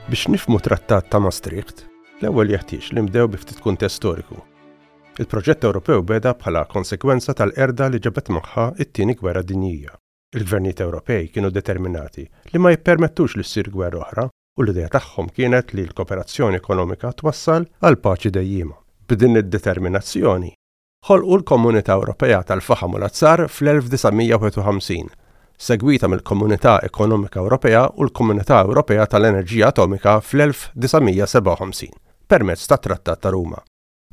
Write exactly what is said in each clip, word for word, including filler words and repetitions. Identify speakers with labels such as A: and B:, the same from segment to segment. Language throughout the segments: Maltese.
A: Biex nifhmu Trattat ta' Maastricht, l-ewwel jeħtieġ li nibdew bi ftit kuntest storiku. Il-proġett Ewropew beda bħala konsekwenza tal-qerda li ġabet magħha it-Tieni Gwerra Dinjija. Il-gvernijiet Ewropej kienu determinati li ma jippermettux li ssir gwerra oħra u l-idea tagħhom kienet li l-kooperazzjoni ekonomika twassal għal paċi dejjima. B'din id-determinazzjoni, ħolqu l-Komunità Ewropea tal-Faħam u l-Azzar fl-elf disa' mija u wieħed u ħamsin, segwita mill-Komunità Ekonomika Ewropea u l-Komunità Ewropea tal-Enerġija Atomika fl-elf disa' mija u sebgħa u ħamsin permezz tat-Trattat ta' Ruma.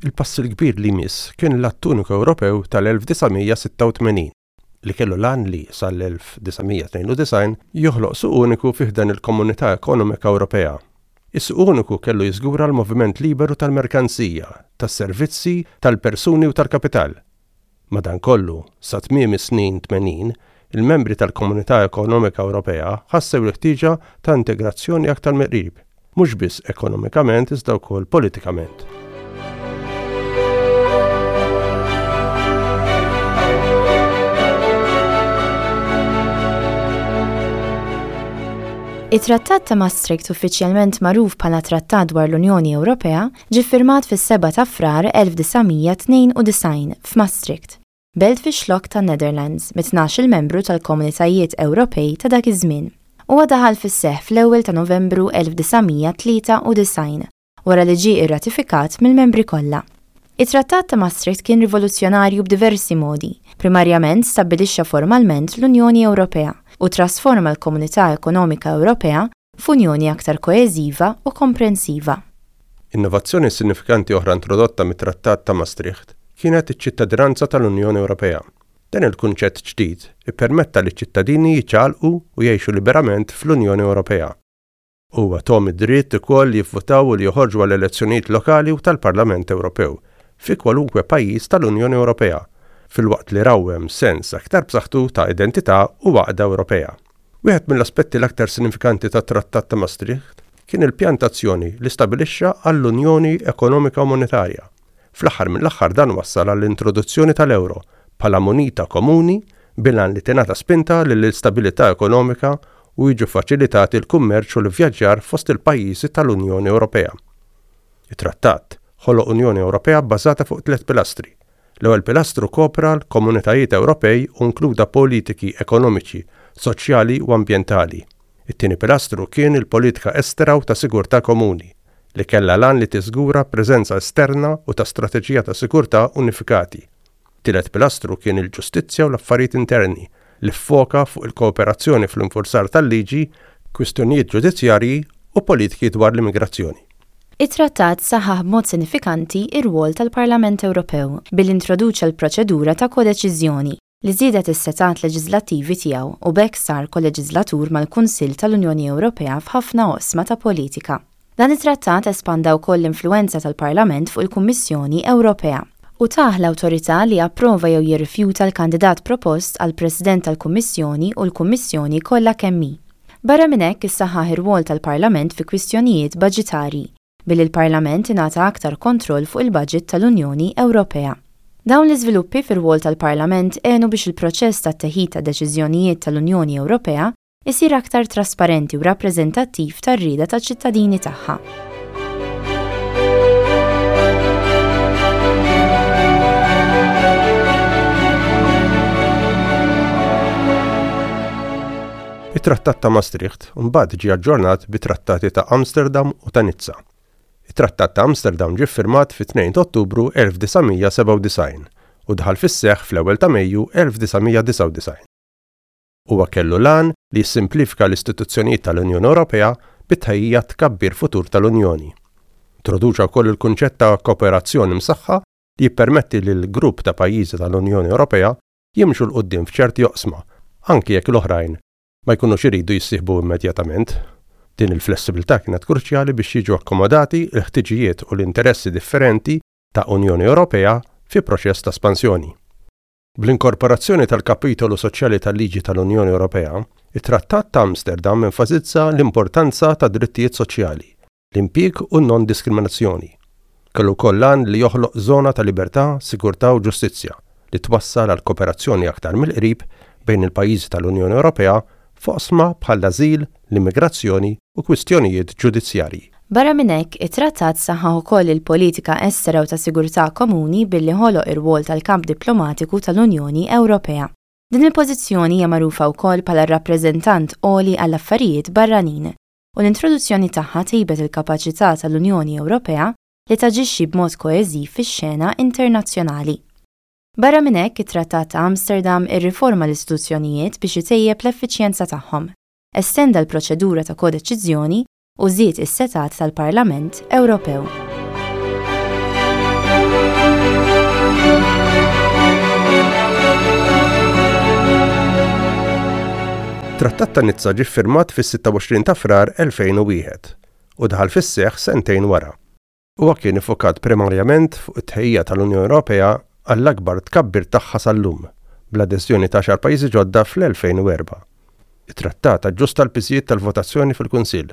A: Il-pass il-kbir li jmiss kien l-Att Uniku Ewropew tal-elf disa' mija u sitta u tmenin li kellu l-għan li sal-elf disa' mija u tnejn u disgħin joħloq suq uniku fi ħdan il-Komunità Ekonomika Ewropea. Is-suq uniku kellu jiżgura l-moviment liberu tal-merkanzija, tas-servizzi, tal-persuni u tal-kapital. Madankollu, sa tmiem is-snin tmenin, il-membri tal-Komunità Ekonomika Ewropea ħassew l-ħtieġa ta' integrazzjoni aktar mill-qrib, mhux biss ekonomikament iżda wkoll politikament.
B: It-Trattat ta' Maastricht, uffiċjalment magħruf bħala Trattat dwar l-Unjoni Ewropea, ġie firmat fis-sebgħa ta' Frar elf disa' mija u tnejn u disgħin f'Maastricht, belt fix-Xlokk tan-Netherlands, mit-tnax-il membru tal-Komunitajiet Ewropej ta' dak iż-żmien. Huwa daħal fis-seħħ fl-ewwel ta' Novembru elf disa' mija u tlieta u disgħin wara li ġie irratifikat mill-membri kollha. It-Trattat ta' Maastricht kien rivoluzzjonarju b'diversi modi. Primarjament stabbilixxa formalment l-Unjoni Ewropea u trasforma l-Komunità Ekonomika Ewropea f'unjoni aktar koeżiva u komprensiva.
A: Innovazzjoni sinifikanti oħra introdotta mit-Trattat ta' Maastricht kienet iċ-ċittadinanza tal-Unjoni Ewropea. Dan il-kunċett ġdid ippermetta li ċittadini jiċċaqalqu u jgħixu liberament fl-Unjoni Ewropea. Huwa tahom id-dritt ukoll li jivvutaw u li joħorġu għal elezzjonijiet lokali u tal-Parlament Ewropew fi kwalunkwe pajjiż tal-Unjoni Ewropea, filwaqt li rawwem sens aktar b'saħħtu ta' identità u għaqda Ewropea. Wieħed mill-aspetti l-aktar sinifikanti tat-Trattat ta' Maastricht kien il-pjan t'azzjoni li stabilixxa għall-Unjoni Ekonomika u Monetarja. Fl-aħħar mill-aħħar, dan wassal għall-introduzzjoni tal-euro bħala munita komuni bil-għan li tingħata spinta lill-istabilità ekonomika u jiġu faċilitati l-kummerċ u l-vjaġġar fost il-pajjiżi tal-Unjoni Ewropea. Il-trattat ħoloq Unjoni Ewropea bbażata fuq tliet pilastri. L-ewwel pilastru kopra l-komunitajiet Ewropej u inkluda politiki ekonomiċi, soċjali u ambjentali. It-tieni pilastru kien il-politika estera u ta' sigurtà komuni, li kellha l-għan li tiżgura preżenza esterna u ta' strateġija ta' sigurtà unifikati. Tielet pilastru kien il-ġustizzja u l-affarijiet interni, li ffoka fuq il-kooperazzjoni fl-infurzar tal-liġi, kwistjonijiet ġudizzjarji u politiki dwar l-immigrazzjoni.
B: It-trattat saħħaħ b'mod sinifikanti ir-rwol tal-Parlament Ewropew billi introduċa l-proċedura ta' kodeċiżjoni li żiedet is-setgħat leġislattivi tiegħu, u b'hekk sar koleġislatur mal-Kunsill tal-Unjoni Ewropea f'ħafna oqsma ta' politika. Dan it-trattat espanda wkoll l-influenza tal-Parlament fuq il-Kummissjoni Ewropea u tah l-awtorità li approva jew jirrifjuta l-kandidat propost għal President tal-Kummissjoni u l-Kummissjoni kollha kemm hi. Barra minn hekk, issaħħaħ ir-rwol tal-Parlament fi kwistjonijiet baġitarji billi l-Parlament ingħata aktar kontroll fuq il-budget tal-Unjoni Ewropea. Dawn l-iżviluppi fir-rwol tal-Parlament għenu biex il-proċess ta' teħid ta' deċiżjonijiet tal-Unjoni Ewropea isir aktar trasparenti u rappreżentattiv tar-rieda taċ-ċittadini tagħha.
A: It-Trattat ta' Maastricht mbagħad ġie aġġornat bi trattati ta' Amsterdam u ta' Nizza. It-Trattat ta' Amsterdam ġie ffirmat fit-tnejn ta' Ottubru elf disa' mija u sebgħa u disgħin u daħal fis-seħħ fl-ewwel ta' Mejju elf disa' mija u disgħa u disgħin. Huwa kellu l-għan li jissimplifika l-istituzzjonijiet tal-Unjoni Ewropea bit-tħejjija tkabbir futur tal-Unjoni. Introduċa wkoll il-kunċett ta' kooperazzjoni msaħħa li jippermetti lil grupp ta' pajjiżi tal-Unjoni Ewropea jimxu 'l quddiem f'ċerti oqsma, anki jekk l-oħrajn ma jkunux iridu jissieħbu immedjatament. Din il-flessibilità kienet kruċjali biex jiġu akkomodati l-ħtiġijiet u l-interessi differenti ta' Unjoni Ewropea fi proċess ta' espansjoni. Bl-inkorporazzjoni tal-kapitolu soċjali tal-liġi tal-Unjoni Ewropea, it-Trattat ta' Amsterdam enfasizza l-importanza ta' drittijiet soċjali, l-impjieg u non-diskriminazzjoni. Kellu wkoll l-għan li joħloq żona ta' libertà, sigurtà u ġustizzja li twassal għal kooperazzjoni aktar mill-qrib bejn il-pajjiżi tal-Unjoni Ewropea f'oqsma bħall-ażil, l-immigrazzjoni u kwistjonijiet ġudizzjarji.
B: Barra minn hekk, it-trattat saħħaħ ukoll il-politika estera u ta' sigurtà komuni billi ħoloq ir-rwol tal-kamp diplomatiku tal-Unjoni Ewropea. Din il-pożizzjoni hija magħrufa wkoll bħala r-rappreżentant għoli għall-affarijiet barranin u l-introduzzjoni tagħha tejbet il-kapaċità tal-Unjoni Ewropea li taġixxi b'mod koeżiv fix-xena internazzjonali. Barra minn hekk, it-Trattat ta' Amsterdam irriforma l-istituzzjonijiet biex itejjeb l-effiċjenza tagħhom, estenda l-proċedura ta' kodeċiżjoni u żied is-setgħat tal-Parlament Ewropew.
A: Trattat ta' Nizza ġie ffirmat fis-sitta u għoxrin ta' Frar elfejn u wieħed u daħal fis-seħħ sentejn wara. Huwa kien iffokat primarjament fuq it-tħejjija tal-Unjoni Ewropea għall-akbar tkabbir tagħha sal-lum, bl-adeżjoni ta' għaxar pajjiżi ġodda fl-elfejn u erbgħa. It-trattat aġġusta l-piżijiet tal-votazzjoni fil-Kunsill,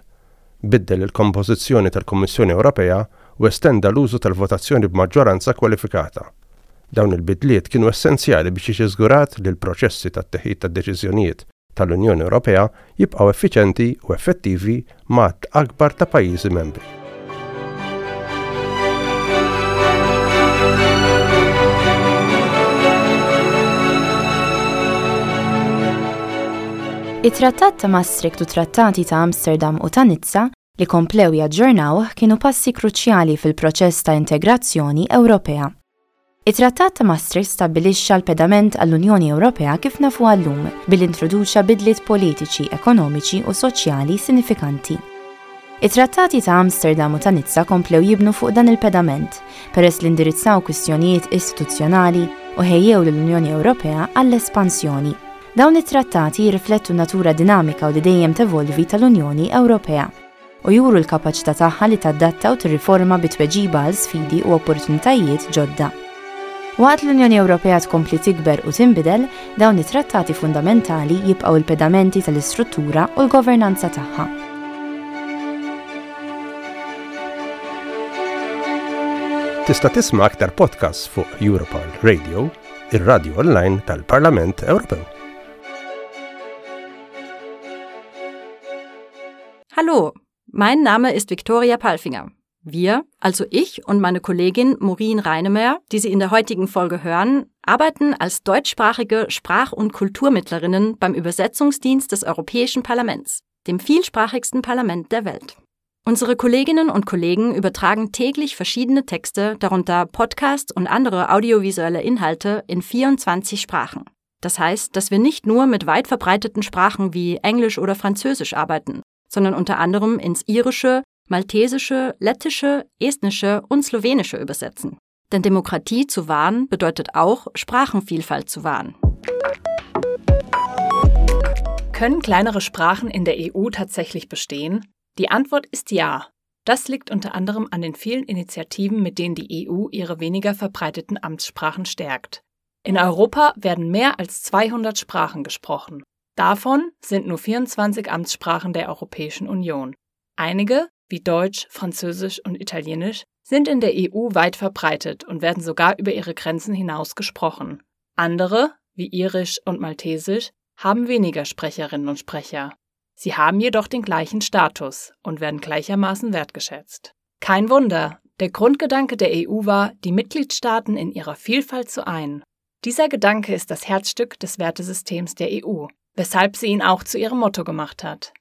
A: biddel il-kompożizzjoni tal-Kummissjoni Ewropea u estenda l-użu tal-votazzjoni b'maġġoranza kwalifikata. Dawn il-bidliet kienu essenzjali biex jiġi żgurat li l-proċessi tat-teħid tad-deċiżjonijiet tal-Unjoni Ewropea jibqgħu effiċjenti u effettivi ma' għadd akbar ta' pajjiżi membri.
B: It-Trattat ta' Maastricht u Trattati ta' Amsterdam u ta' Nizza li komplew jaġġornawh kienu passi kruċjali fil-proċess ta' integrazzjoni Ewropea. It-Trattat ta' Maastricht stabbilixxa l-pedament għall-Unjoni Ewropea kif nafuha llum billi introduċa bidliet politiċi, ekonomiċi u soċjali sinifikanti. It-Trattati ta' Amsterdam u ta' Nizza komplew jibnu fuq dan il-pedament peress li indirizzaw kwistjonijiet istituzzjonali u ħejjew lill-Unjoni Ewropea għall-espansjoni. Dawn it-trattati jirriflettu natura dinamika u li dejjem tevolvi tal-Unjoni Ewropea u juru l-kapaċità tagħha li tadatta u tirriforma bi tweġiba għal sfidi u opportunitajiet ġodda. Waqt l-Unjoni Ewropea tkompli tikber u tinbidel, dawn it-trattati fundamentali jibqgħu l-pedamenti tal-istruttura u l-governanza tagħha.
A: Tista' tisma' aktar podcasts fuq Europarl Radio, ir-radio online tal-Parlament Ewropew.
C: Hallo, mein Name ist Viktoria Palfinger. Wir, also ich und meine Kollegin Maureen Reinemer, die Sie in der heutigen Folge hören, arbeiten als deutschsprachige Sprach- und Kulturmittlerinnen beim Übersetzungsdienst des Europäischen Parlaments, dem vielsprachigsten Parlament der Welt. Unsere Kolleginnen und Kollegen übertragen täglich verschiedene Texte, darunter Podcasts und andere audiovisuelle Inhalte in vierundzwanzig Sprachen. Das heißt, dass wir nicht nur mit weit verbreiteten Sprachen wie Englisch oder Französisch arbeiten, sondern unter anderem ins Irische, Maltesische, Lettische, Estnische und Slowenische übersetzen. Denn Demokratie zu wahren bedeutet auch, Sprachenvielfalt zu wahren.
D: Können kleinere Sprachen in der E U tatsächlich bestehen? Die Antwort ist ja. Das liegt unter anderem an den vielen Initiativen, mit denen die E U ihre weniger verbreiteten Amtssprachen stärkt. In Europa werden mehr als zweihundert Sprachen gesprochen. Davon sind nur vierundzwanzig Amtssprachen der Europäischen Union. Einige, wie Deutsch, Französisch und Italienisch, sind in der E U weit verbreitet und werden sogar über ihre Grenzen hinaus gesprochen. Andere, wie Irisch und Maltesisch, haben weniger Sprecherinnen und Sprecher. Sie haben jedoch den gleichen Status und werden gleichermaßen wertgeschätzt. Kein Wunder, der Grundgedanke der E U war, die Mitgliedstaaten in ihrer Vielfalt zu einen. Dieser Gedanke ist das Herzstück des Wertesystems der E U, weshalb sie ihn auch zu ihrem Motto gemacht hat.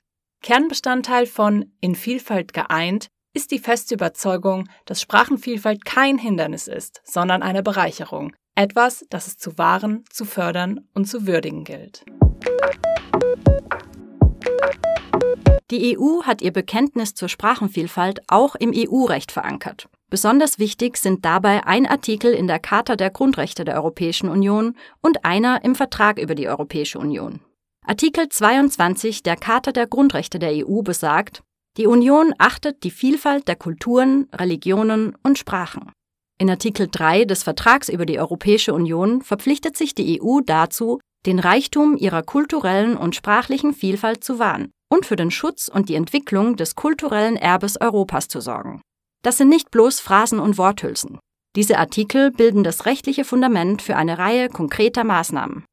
D: Kernbestandteil von In Vielfalt geeint ist die feste Überzeugung, dass Sprachenvielfalt kein Hindernis ist, sondern eine Bereicherung. Etwas, das es zu wahren, zu fördern und zu würdigen gilt.
C: Die E U hat ihr Bekenntnis zur Sprachenvielfalt auch im E U-Recht verankert. Besonders wichtig sind dabei ein Artikel in der Charta der Grundrechte der Europäischen Union und einer im Vertrag über die Europäische Union. Artikel zweiundzwanzig der Charta der Grundrechte der E U besagt, die Union achtet die Vielfalt der Kulturen, Religionen und Sprachen. In Artikel drei des Vertrags über die Europäische Union verpflichtet sich die E U dazu, den Reichtum ihrer kulturellen und sprachlichen Vielfalt zu wahren und für den Schutz und die Entwicklung des kulturellen Erbes Europas zu sorgen. Das sind nicht bloß Phrasen und Worthülsen. Diese Artikel bilden das rechtliche Fundament für eine Reihe konkreter Maßnahmen.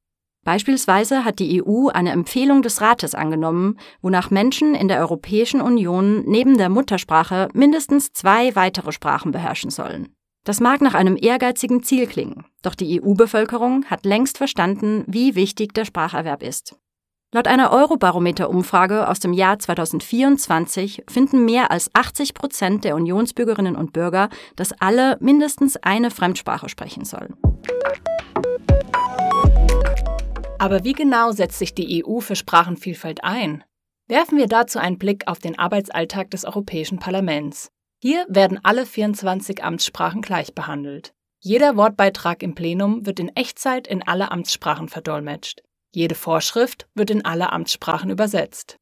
C: Beispielsweise hat die E U eine Empfehlung des Rates angenommen, wonach Menschen in der Europäischen Union neben der Muttersprache mindestens zwei weitere Sprachen beherrschen sollen. Das mag nach einem ehrgeizigen Ziel klingen, doch die E U-Bevölkerung hat längst verstanden, wie wichtig der Spracherwerb ist. Laut einer Eurobarometer-Umfrage aus dem Jahr zweitausendvierundzwanzig finden mehr als achtzig Prozent der Unionsbürgerinnen und Bürger, dass alle mindestens eine Fremdsprache sprechen sollen.
D: Aber wie genau setzt sich die E U für Sprachenvielfalt ein? Werfen wir dazu einen Blick auf den Arbeitsalltag des Europäischen Parlaments. Hier werden alle vierundzwanzig Amtssprachen gleich behandelt. Jeder Wortbeitrag im Plenum wird in Echtzeit in alle Amtssprachen verdolmetscht. Jede Vorschrift wird in alle Amtssprachen übersetzt.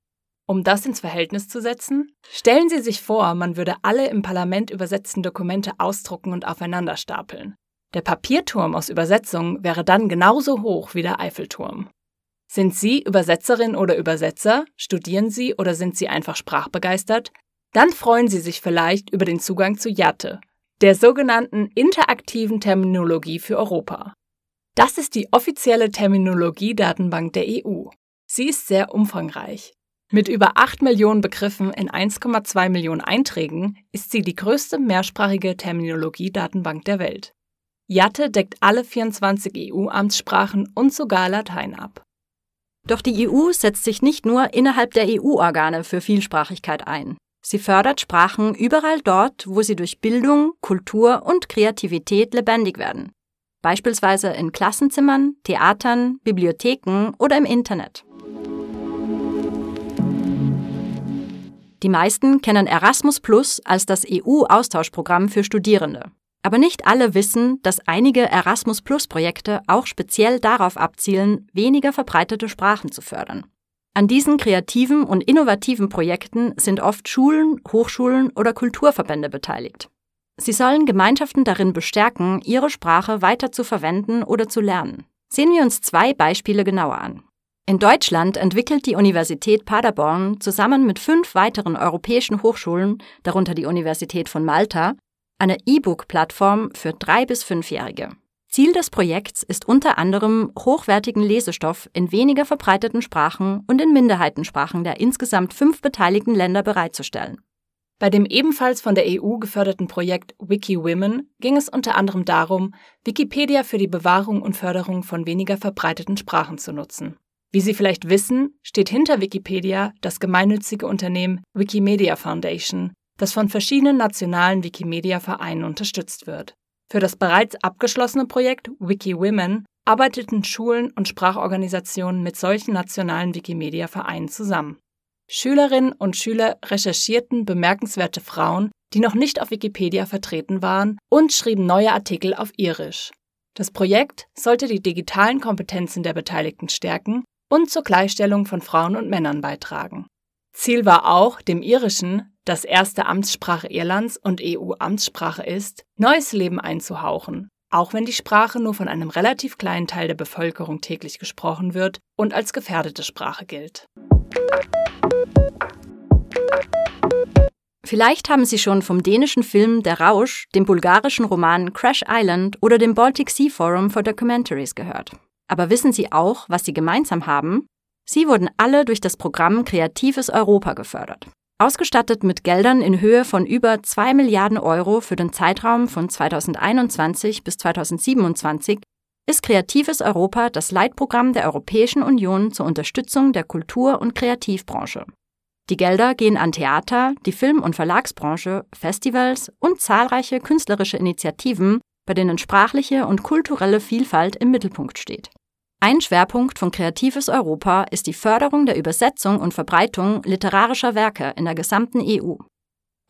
D: Um das ins Verhältnis zu setzen, stellen Sie sich vor, man würde alle im Parlament übersetzten Dokumente ausdrucken und aufeinander stapeln. Der Papierturm aus Übersetzungen wäre dann genauso hoch wie der Eiffelturm. Sind Sie Übersetzerin oder Übersetzer? Studieren Sie oder sind Sie einfach sprachbegeistert? Dann freuen Sie sich vielleicht über den Zugang zu IATE, der sogenannten interaktiven Terminologie für Europa. Das ist die offizielle Terminologie-Datenbank der E U. Sie ist sehr umfangreich. Mit über acht Millionen Begriffen in eins Komma zwei Millionen Einträgen ist sie die größte mehrsprachige Terminologie-Datenbank der Welt. IATE deckt alle vierundzwanzig E U-Amtssprachen und sogar Latein ab.
C: Doch die E U setzt sich nicht nur innerhalb der E U-Organe für Vielsprachigkeit ein. Sie fördert Sprachen überall dort, wo sie durch Bildung, Kultur und Kreativität lebendig werden. Beispielsweise in Klassenzimmern, Theatern, Bibliotheken oder im Internet. Die meisten kennen Erasmus Plus als das E U-Austauschprogramm für Studierende. Aber nicht alle wissen, dass einige Erasmus Plus Projekte auch speziell darauf abzielen, weniger verbreitete Sprachen zu fördern. An diesen kreativen und innovativen Projekten sind oft Schulen, Hochschulen oder Kulturverbände beteiligt. Sie sollen Gemeinschaften darin bestärken, ihre Sprache weiter zu verwenden oder zu lernen. Sehen wir uns zwei Beispiele genauer an. In Deutschland entwickelt die Universität Paderborn zusammen mit fünf weiteren europäischen Hochschulen, darunter die Universität von Malta, eine E-Book-Plattform für drei- bis fünfjährige. Ziel des Projekts ist unter anderem, hochwertigen Lesestoff in weniger verbreiteten Sprachen und in Minderheitensprachen der insgesamt fünf beteiligten Länder bereitzustellen.
D: Bei dem ebenfalls von der E U geförderten Projekt WikiWomen ging es unter anderem darum, Wikipedia für die Bewahrung und Förderung von weniger verbreiteten Sprachen zu nutzen. Wie Sie vielleicht wissen, steht hinter Wikipedia das gemeinnützige Unternehmen Wikimedia Foundation, das von verschiedenen nationalen Wikimedia-Vereinen unterstützt wird. Für das bereits abgeschlossene Projekt WikiWomen arbeiteten Schulen und Sprachorganisationen mit solchen nationalen Wikimedia-Vereinen zusammen. Schülerinnen und Schüler recherchierten bemerkenswerte Frauen, die noch nicht auf Wikipedia vertreten waren, und schrieben neue Artikel auf Irisch. Das Projekt sollte die digitalen Kompetenzen der Beteiligten stärken und zur Gleichstellung von Frauen und Männern beitragen. Ziel war auch, dem Irischen, das erste Amtssprache Irlands und E U-Amtssprache ist, neues Leben einzuhauchen, auch wenn die Sprache nur von einem relativ kleinen Teil der Bevölkerung täglich gesprochen wird und als gefährdete Sprache gilt.
C: Vielleicht haben Sie schon vom dänischen Film Der Rausch, dem bulgarischen Roman Crash Island oder dem Baltic Sea Forum for Documentaries gehört. Aber wissen Sie auch, was sie gemeinsam haben? Sie wurden alle durch das Programm Kreatives Europa gefördert. Ausgestattet mit Geldern in Höhe von über zwei Milliarden Euro für den Zeitraum von zweitausendeinundzwanzig bis zweitausendsiebenundzwanzig ist Kreatives Europa das Leitprogramm der Europäischen Union zur Unterstützung der Kultur- und Kreativbranche. Die Gelder gehen an Theater, die Film- und Verlagsbranche, Festivals und zahlreiche künstlerische Initiativen, bei denen sprachliche und kulturelle Vielfalt im Mittelpunkt steht. Ein Schwerpunkt von Kreatives Europa ist die Förderung der Übersetzung und Verbreitung literarischer Werke in der gesamten E U.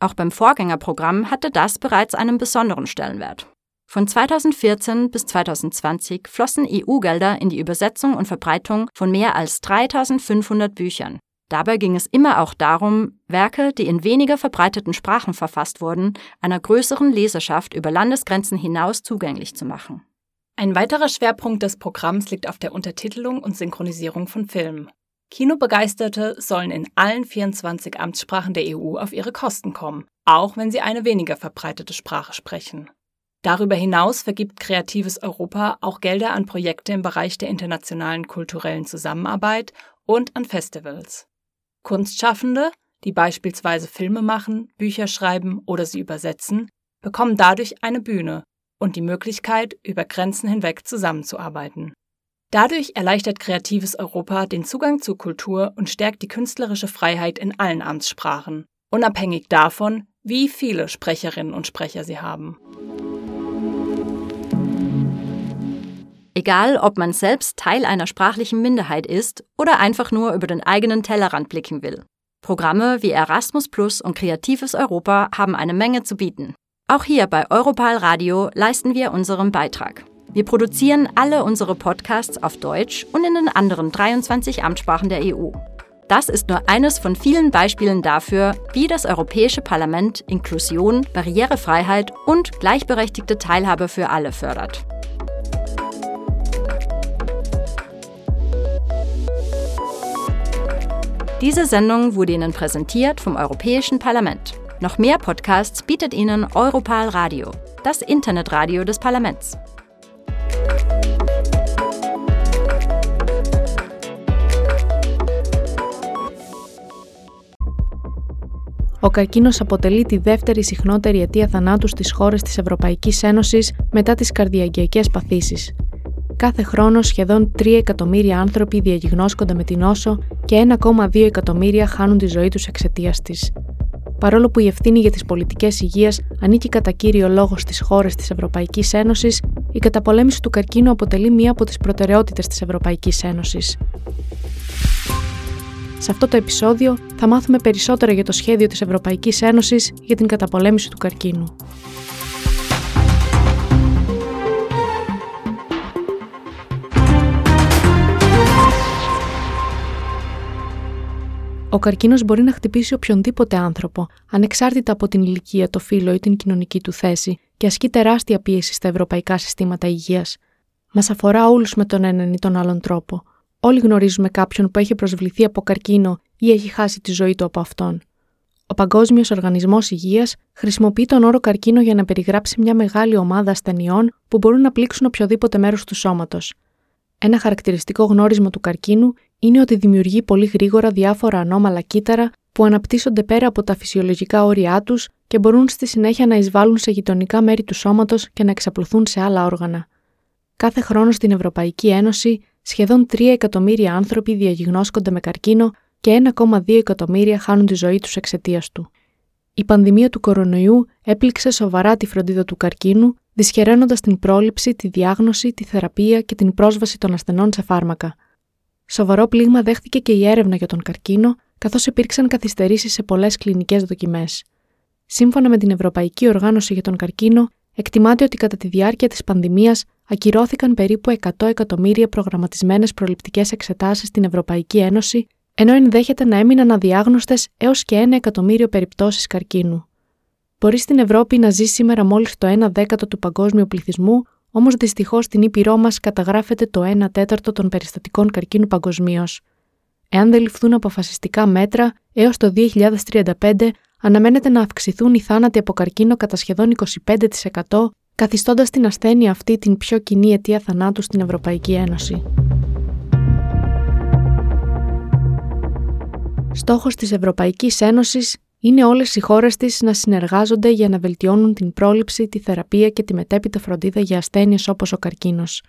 C: Auch beim Vorgängerprogramm hatte das bereits einen besonderen Stellenwert. Von zweitausendvierzehn bis zweitausendzwanzig flossen E U-Gelder in die Übersetzung und Verbreitung von mehr als dreitausendfünfhundert Büchern. Dabei ging es immer auch darum, Werke, die in weniger verbreiteten Sprachen verfasst wurden, einer größeren Leserschaft über Landesgrenzen hinaus zugänglich zu machen.
D: Ein weiterer Schwerpunkt des Programms liegt auf der Untertitelung und Synchronisierung von Filmen. Kinobegeisterte sollen in allen vierundzwanzig Amtssprachen der E U auf ihre Kosten kommen, auch wenn sie eine weniger verbreitete Sprache sprechen. Darüber hinaus vergibt Kreatives Europa auch Gelder an Projekte im Bereich der internationalen kulturellen Zusammenarbeit und an Festivals. Kunstschaffende, die beispielsweise Filme machen, Bücher schreiben oder sie übersetzen, bekommen dadurch eine Bühne und die Möglichkeit, über Grenzen hinweg zusammenzuarbeiten. Dadurch erleichtert Kreatives Europa den Zugang zur Kultur und stärkt die künstlerische Freiheit in allen Amtssprachen, unabhängig davon, wie viele Sprecherinnen und Sprecher sie haben.
C: Egal, ob man selbst Teil einer sprachlichen Minderheit ist oder einfach nur über den eigenen Tellerrand blicken will. Programme wie Erasmus Plus und Kreatives Europa haben eine Menge zu bieten. Auch hier bei Europal Radio leisten wir unseren Beitrag. Wir produzieren alle unsere Podcasts auf Deutsch und in den anderen dreiundzwanzig Amtssprachen der E U. Das ist nur eines von vielen Beispielen dafür, wie das Europäische Parlament Inklusion, Barrierefreiheit und gleichberechtigte Teilhabe für alle fördert. Diese Sendung wurde Ihnen präsentiert vom Europäischen Parlament. Noch mehr Podcasts bietet Ihnen Europal Radio, das Internetradio des Parlaments.
E: Ο καρκίνος αποτελεί τη δεύτερη συχνότερη αιτία θανάτου στις χώρες της Ευρωπαϊκής Ένωσης μετά τις καρδιαγγειακές παθήσεις. Κάθε χρόνο σχεδόν τρία εκατομμύρια άνθρωποι διαγνώσκονται με την νόσο και ένα κόμμα δύο εκατομμύρια χάνουν τη ζωή τους εξαιτίας της. Παρόλο που η ευθύνη για τις πολιτικές υγείας ανήκει κατά κύριο λόγο στις χώρες της Ευρωπαϊκής Ένωσης, η καταπολέμηση του καρκίνου αποτελεί μία από τις προτεραιότητες της Ευρωπαϊκής Ένωσης. Σε αυτό το επεισόδιο θα μάθουμε περισσότερα για το σχέδιο της Ευρωπαϊκής Ένωσης για την καταπολέμηση του καρκίνου. Ο καρκίνος μπορεί να χτυπήσει οποιονδήποτε άνθρωπο, ανεξάρτητα από την ηλικία, το φύλο ή την κοινωνική του θέση, και ασκεί τεράστια πίεση στα ευρωπαϊκά συστήματα υγείας. Μας αφορά όλους με τον έναν ή τον άλλον τρόπο. Όλοι γνωρίζουμε κάποιον που έχει προσβληθεί από καρκίνο ή έχει χάσει τη ζωή του από αυτόν. Ο Παγκόσμιος Οργανισμός Υγείας χρησιμοποιεί τον όρο καρκίνο για να περιγράψει μια μεγάλη ομάδα ασθενειών που μπορούν να πλήξουν οποιοδήποτε μέρος του σώματος. Ένα χαρακτηριστικό γνώρισμα του καρκίνου είναι ότι δημιουργεί πολύ γρήγορα διάφορα ανώμαλα κύτταρα που αναπτύσσονται πέρα από τα φυσιολογικά όρια τους και μπορούν στη συνέχεια να εισβάλλουν σε γειτονικά μέρη του σώματος και να εξαπλωθούν σε άλλα όργανα. Κάθε χρόνο στην Ευρωπαϊκή Ένωση, σχεδόν τρία εκατομμύρια άνθρωποι διαγνώσκονται με καρκίνο και ένα κόμμα δύο εκατομμύρια χάνουν τη ζωή τους εξαιτίας του. Η πανδημία του κορονοϊού έπληξε σοβαρά τη φροντίδα του καρκίνου, δυσχεραίνοντας την πρόληψη, τη διάγνωση, τη θεραπεία και την πρόσβαση των ασθενών σε φάρμακα. Σοβαρό πλήγμα δέχτηκε και η έρευνα για τον καρκίνο, καθώς υπήρξαν καθυστερήσεις σε πολλές κλινικές δοκιμές. Σύμφωνα με την Ευρωπαϊκή Οργάνωση για τον Καρκίνο, εκτιμάται ότι κατά τη διάρκεια της πανδημίας ακυρώθηκαν περίπου εκατό εκατομμύρια προγραμματισμένες προληπτικές εξετάσεις στην Ευρωπαϊκή Ένωση, ενώ ενδέχεται να έμειναν αδιάγνωστες έως και ένα εκατομμύριο περιπτώσεις καρκίνου. Μπορεί στην Ευρώπη να ζει σήμερα μόλις το ένα δέκατο του παγκόσμιου πληθυσμού, όμως δυστυχώς στην ήπειρό μας καταγράφεται το ένα τέταρτο των περιστατικών καρκίνου παγκοσμίως. Εάν δεν ληφθούν αποφασιστικά μέτρα, έως το δύο χιλιάδες τριάντα πέντε αναμένεται να αυξηθούν οι θάνατοι από καρκίνο κατά σχεδόν είκοσι πέντε τοις εκατό, καθιστώντας την ασθένεια αυτή την πιο κοινή αιτία θανάτου στην Ευρωπαϊκή Ένωση. Στόχος της Ευρωπαϊκής Ένωσης είναι όλες οι χώρες της να συνεργάζονται για να βελτιώνουν την πρόληψη, τη θεραπεία και τη μετέπειτα φροντίδα για ασθένειες όπως ο καρκίνος.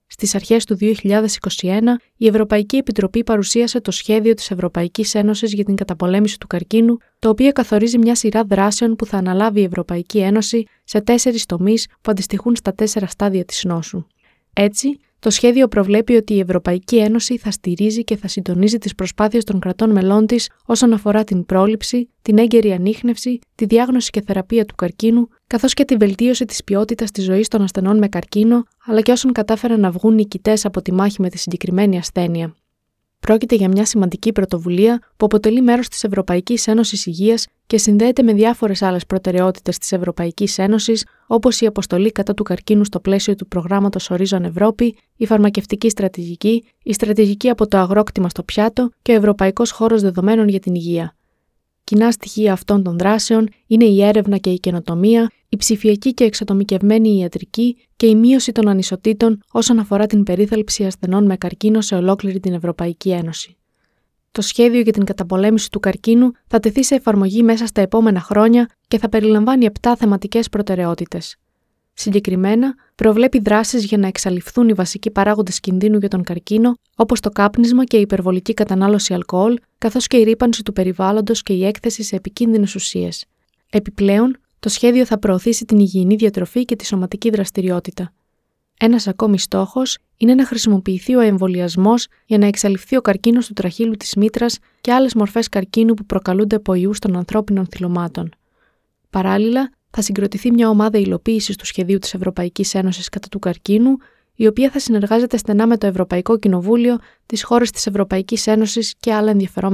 E: Στις αρχές του δύο χιλιάδες είκοσι ένα, η Ευρωπαϊκή Επιτροπή παρουσίασε το σχέδιο της Ευρωπαϊκής Ένωσης για την καταπολέμηση του καρκίνου, το οποίο καθορίζει μια σειρά δράσεων που θα αναλάβει η Ευρωπαϊκή Ένωση σε τέσσερις τομείς που αντιστοιχούν στα τέσσερα στάδια της νόσου. Έτσι, το σχέδιο προβλέπει ότι η Ευρωπαϊκή Ένωση θα στηρίζει και θα συντονίζει τις προσπάθειες των κρατών μελών της όσον αφορά την πρόληψη, την έγκαιρη ανίχνευση, τη διάγνωση και θεραπεία του καρκίνου, καθώς και τη βελτίωση της ποιότητας της ζωής των ασθενών με καρκίνο, αλλά και όσων κατάφεραν να βγουν νικητές από τη μάχη με τη συγκεκριμένη ασθένεια. Πρόκειται για μια σημαντική πρωτοβουλία που αποτελεί μέρος της Ευρωπαϊκής Ένωσης Υγείας και συνδέεται με διάφορες άλλες προτεραιότητες της Ευρωπαϊκής Ένωσης, όπως η αποστολή κατά του καρκίνου στο πλαίσιο του προγράμματος Ορίζων Ευρώπη, η φαρμακευτική στρατηγική, η στρατηγική από το αγρόκτημα στο πιάτο και ο Ευρωπαϊκός Χώρος Δεδομένων για την Υγεία. Κοινά στοιχεία αυτών των δράσεων είναι η έρευνα και η καινοτομία, η ψηφιακή και εξατομικευμένη ιατρική και η μείωση των ανισοτήτων όσον αφορά την περίθαλψη ασθενών με καρκίνο σε ολόκληρη την Ευρωπαϊκή Ένωση. Το σχέδιο για την καταπολέμηση του καρκίνου θα τεθεί σε εφαρμογή μέσα στα επόμενα χρόνια και θα περιλαμβάνει επτά θεματικές προτεραιότητες. Συγκεκριμένα, προβλέπει δράσεις για να εξαλειφθούν οι βασικοί παράγοντες κινδύνου για τον καρκίνο, όπως το κάπνισμα και η υπερβολική κατανάλωση αλκοόλ, καθώς και η ρύπανση του περιβάλλοντος και η έκθεση σε επικίνδυνες ουσίες. Επιπλέον, το σχέδιο θα προωθήσει την υγιεινή διατροφή και τη σωματική δραστηριότητα. Ένας ακόμη στόχος είναι να χρησιμοποιηθεί ο εμβολιασμός για να εξαλειφθεί ο καρκίνος του τραχήλου της μήτρας και άλλες μορφές καρκίνου που προκαλούνται από ιούς των ανθρώπινων θηλωμάτων. Παράλληλα, θα συγκροτηθεί μια ομάδα υλοποίησης του σχεδίου της Ευρωπαϊκής Ένωσης κατά του καρκίνου, η οποία θα συνεργάζεται στενά με το Ευρωπαϊκό Κοινοβούλιο, τις χώρες της Ευρωπαϊκής Ένωσης και άλλα ενδιαφερόμενα